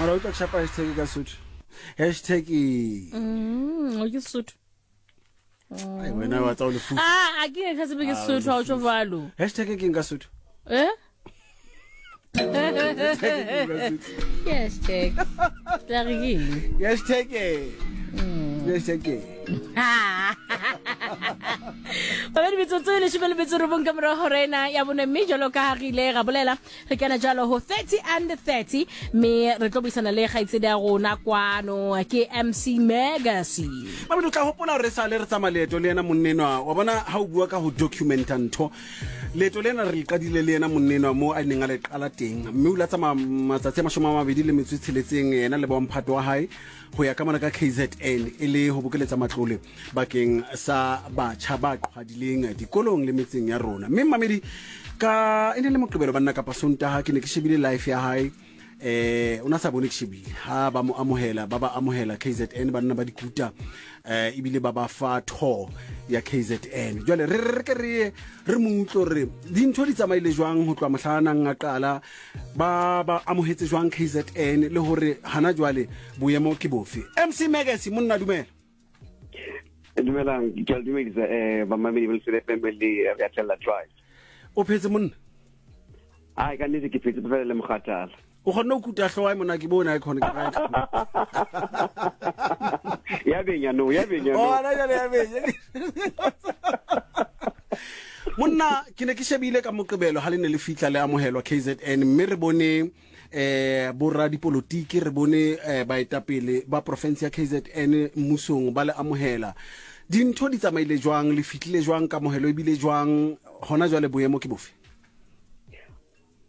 Mara o tla chapa hashtag ka Sotho. Hashtag e. O ke Sotho. Ai wena wa tsa o lefu. Ah, a ke ka tsebe ke Sotho ha o tjho jwalo. Hashtag ke nka Sotho. Eh? Hashtag. Tla re ke eng? Hashtag e. Hashtag e. Babedi metsotso e leshome le metso robong ka morago hora ena ya bone mme jalo ka ha re ile ra bolela re kena jalo ho 30 and 30 mme re tlo buisana le kgaitsedi ya rona kwano ke MC Megasi. Babedi o tla hopola hore sale re tsamaya leeto le yena monnenwa wa bona ha o bua ka ho documenta ntho leeto lena re le qadile le yena monnenwa mo a neng a le qala teng mme o ile a tsamaya matsatsi a 26 yena le bomphato wa hae ho ya ka mona ka KZN e le ho bokeletsa matlole bakeng sa batjha ba qhwadileng dikolong le metseng ya rona. Mme mmamedi ka e ne le Moqebelo banna kapa Sontaha ke ne ke shebile life ya hae eh o na sa bone ke shebile ha ba mo amohela ba ba amohela KZN banna ba dikuta eh ebile ba ba fa tour ya KZN jwale re re ke re re mo utlwe re dintho di tsamaile jwang ho tloha mohlanang a qala ba ba amohetse jwang KZN le hore hana jwale boemo ke bofe. MC Megasi monna dumela. Dumelang, ke a le dumedisa bamamedi ba Lesedi FM le re atlela drive. O phetse monna? Ai ka nnete ke phetse fela le mogatala. O kgonne ho kuta hloho mona ke bona e khone ke right. Ya benya no, ya benya no. Oh, na jale ya benya. Monna ke ne ke shebile ka Moqebelo ha le ne le fihla le amohelwa KZN mme re bone eh boradipolotiki re bone eh, baetapele ba province ya KZN mmusong ba le amohela. Dintho di tsamaile jwang, le fihlile jwang, kamohelo ebile jwang, hona jwale boemo ke bofe?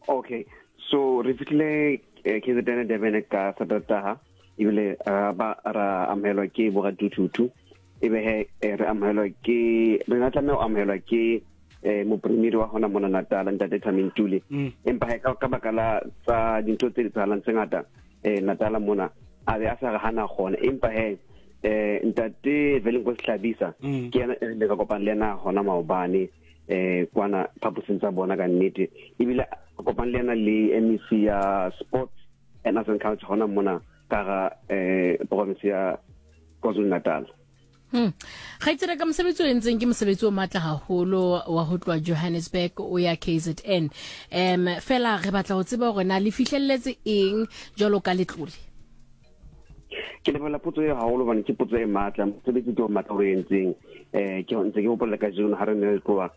Okay, so re fihlile KZN Durban ka Satertaha ebile ra ba ra amohelwa ke boraduthutu ebe he re amohelwa ke re na tlameha ho amohelwa ke mopremiri wa hona mona Natal ntate Thami Ntuli. Empa he ka baka la tsa dintho tse etsahalang tse ngata Natal mona a be a sa re hana kgona empa he ntate Velenkosi Hlabisa ke yena e re ka kopana le yena hona maobane kwana phaposing tsa bona ka nnete ebile kopane le yena le MEC ya Sports and Arts and Culture hona mona ka ga province ya KwaZulu Natal. Kgaitsedi ka mosebetsi o entseng ke mosebetsi o matla haholo wa ho tloha Johannesburg o ya KZN. Fela re batla ho tseba hore na le fihlelletse eng jwalo ka letlole. Ke lebohela potso eo haholo hobane ke potso e matla, mosebetsi ke o matla o re entseng. Ke ntse ke hopola kajeno ha re ne re tloha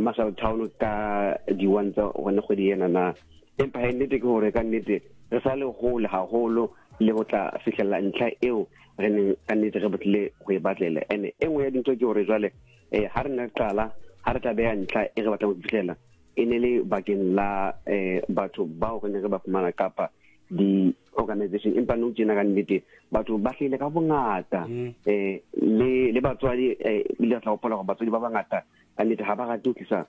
Marshall Town ka di-1 tsa gone kgwedi ena na. Empa he nnete ke hore ka nnete re sa le hole haholo le ho tla fihlela ntlha eo re neng ka nnete re batlile ho e batlela. Ene e nngwe ya dintho ke hore jwale ha re ne re qala, ha re tla beha ntlha e re batlang ho fihlela, e ne le bakeng la batho bao re ne re ba fumana kapa di-organization. Empa nou tjena ka nnete batho ba hlahile ka bongata le batswadi ebile re tla hopola hore batswadi ba bangata ka nnete ha ba rate ho tlisa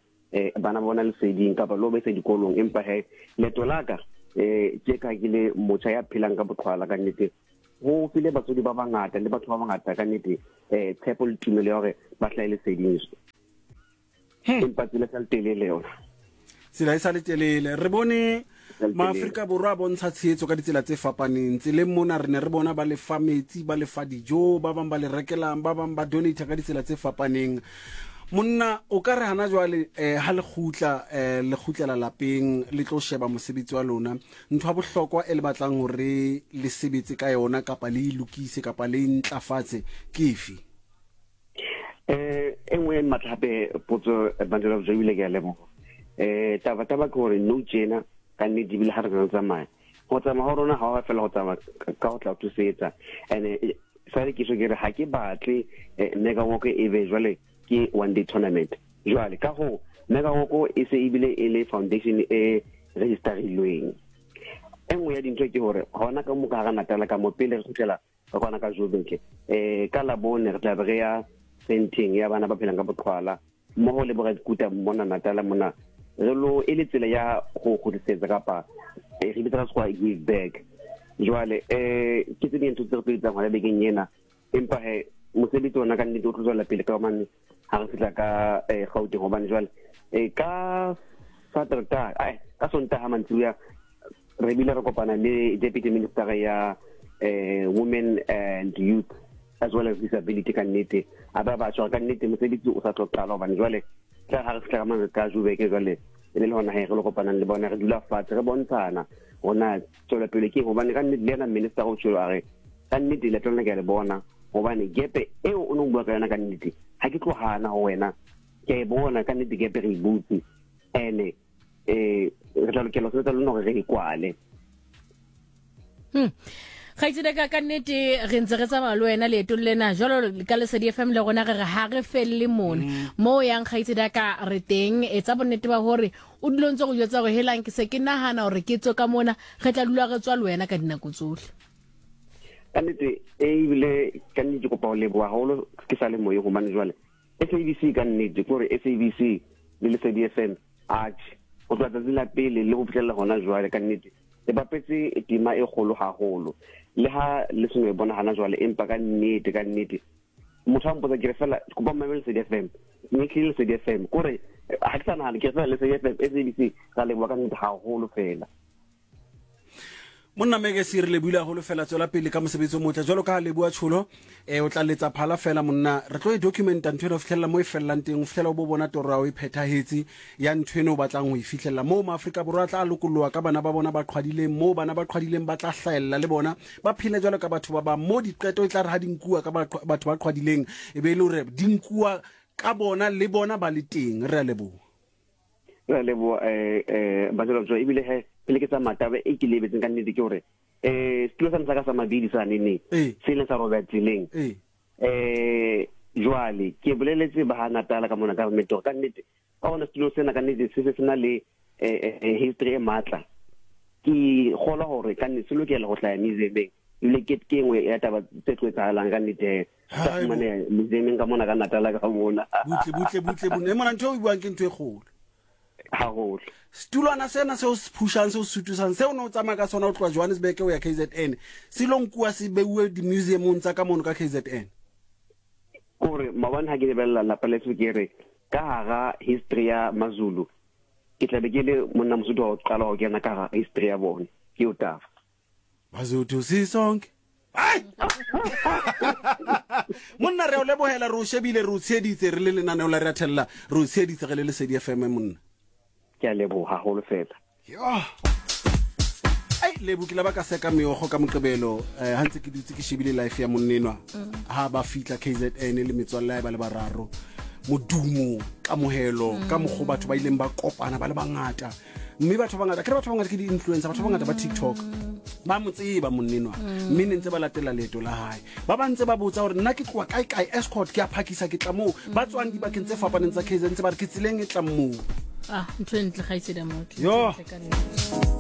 bana ba bona leseding kapa le ho ba isa dikolong. Empa he leeto la ka ke ka ke le motjha ya phelang ka boqhwala ka nnete ho file batswadi ba bangata le batho ba bangata ka nnete tshepo le tumelo ya hore ba hlahe leseding. Empa tsela e sa le telele yona. Tsela e sa le telele. Re bone Maafrika Borwa a bontsha tshehetso ka ditsela tse fapaneng. Tseleng mona re ne re bona ba lefa metsi, ba lefa dijo, ba bang ba le rekelang, ba bang ba donate ka ditsela tse fapaneng. Monna o ka re hana jwale ha le kgutla le kgutlela lapeng le tlo sheba mosebetsi wa lona, ntho ya bohlokwa e le batlang hore le sebetse ka yona kapa le e lokise kapa le e ntlafatse ke efe? E nngwe e matla hape potso Bandela of Joe ke a leboha. Taba taba ke hore nou tjena ka nnete ebile ha re re tsamaya ho tsamaya ho rona ha wa fela ho tsamaya ka ho tla ho thusetsa. And sale ke so ke re ha ke batle Mega Walk e be jwale ke one day tournament. Jwale ka ho Mega Walk e se ebile e le foundation e registerilweng. E nngwe ya dintho ke hore hona ka mo ka hara Natal ka mo pele re kgutlela ka kwana ka Joburg ka Labone re tla be re ya centeng ya bana ba phelang ka boqhwala mmoho le boradikuta mona Natal mona re lo e le tsela ya go kgutlisetsa kapa re bitsa ka sekgowa give back. Jwale ke tse ding ntho tse re tlo etsang hona bekeng ena empa he mosebetsi ona ka nnete o tlo tswela pele ka hobane ha re fihla ka Gauteng hobane jwale ka Satertaha ka Sontaha mantsiboya Re bile re kopana le deputy minister ya women and youth as well as disability. Ka nnete a ba batjha ka nnete mosebetsi o sa tlo qala, hobane jwale tla ha re fihla ka mane ka Joburg, jwale e le hona he re lo kopanang le bona, re dula fatshe re bontshana hona tswelopele ke, hobane ka nnete le yena minister o tshwelo a re ka nnete leeto lena ke a le bona, hobane gepe eo o no bua ka yona ka nnete ha ke tlo hana ho wena, ke a e bona ka nnete gepe re e butse, ene re tla lokela ho sebetsa le lona hore re e kwale. Kgaitsedi ka nnete re ntse re tsamaya le wena leetong lena jwalo ka Lesedi FM, le rona re re ha re felle mona mo o yang. Kgaitsedi ka re teng, etsa bonnete ba hore o dule o ntse go jwetsa hore helang ke se ke nahana hore ke tswe ka mona, re tla dula re tswa le wena ka dinako tsohle. Ka nnete ebile ka nnete ke kopa ho leboha haholo ke sa le moyeng, hobane jwale SABC ka nnete ke hore SABC le Lesedi FM, atjhe, ho tloha tsatsi la pele le ho fihlella hona jwale, ka nnete le bapetse tema e kgolo haholo, le ha le seno e bona hana jwale, empa ka nnete ka nnete motho a mpotsa ke re fela kopa mmamele Lesedi FM, mme ke Lesedi FM kore ha ke sa nahana, ke re fela Lesedi FM, SABC ra leboha ka nnete haholo fela. Monna Meke se re lebohile haholo fela, tswela pele ka mosebetsi o motle jwalo ka ha leboha tsholo o tla letsa phala fela monna, re tlo e documenta ntho ena ho fihlella mo e fellang teng, ho fihlela o bo bona toro ya o e phethahetse ya ntho eno o batlang ho e fihlella, moo maAfrika Borwa a tla lokolloha ka bana ba bona ba qhwadileng, moo bana ba qhwadileng ba tla hlahella le bona ba phele jwalo ka batho ba bang, moo diqeto e tla re ha di nkuwa ka batho ba qhwadileng e be e le hore di nkuwa ka bona le bona ba le teng. Re a leboha. Re a leboha Bajalo, ebile he pele ke tsamaya, taba e ke lebetseng ka nnete ke hore setulo sa ka sa mabidi sa nene se ileng sa robeha tseleng, jwale ke boleletse ba ha Natala ka mona government hore ka nnete ka hona setulo sena ka nnete se se sena le history e matla, ke kgolwa hore ka nnete se lokela ho hlaya museumeng, ebile ke ke nngwe ya taba tse tlo etsahalang ka nnete sa fumaneha museumeng ka mona ka Natala ka mona. Butle butle butle butle mona, ntho e o buang ke ntho e kgolo haholo. Setulwana sena seo se phushang, seo se sutusang, seo ne o tsamaya ka sona o tloha Johannesburg o ya KZN, se lo nkuwa se beuwe di-museumong tsa ka mono ka KZN. Kore maobane ha ke lebella lapa leso, ke re ka hara history ya Mazulu ke tlabe ke le monna Mosotho wa ho qala ho kena ka hara history ya bona, ke eo taba. Basotho sisonke. Ai! Monna re o lebohela, re o shebile, re o tsheheditse re le lenaneo la re a thella, re o tsheheditse re le Lesedi FM monna. Ke a leboha haholo fela. Yo. Ai lebo ke la ba ka seka meokgo ka moqebelo ha ntse ke dutse ke shebile life ya monnenwa ha ba fitla KZN le metswalle ya ba le bararo, modumo, kamohelo ka mokgo batho ba ileng ba kopana ba le bangata, mme batho ba bangata ke re batho ba bangata ke di-influencer, batho ba bangata ba TikTok ba mo tseba monnenwa, mme ne ntse ba latela leeto la hae, ba ba ntse ba botsa hore nna ke tloha kae kae, escort ke a phakisa ke tla moo, ba tswang dibakeng tse fapaneng tsa KZN ntse ba re ke tseleng e tlang moo. Ah, ntho e ntle kgaitsedi ya motho. Yo. Ntho e ntle ka nnete.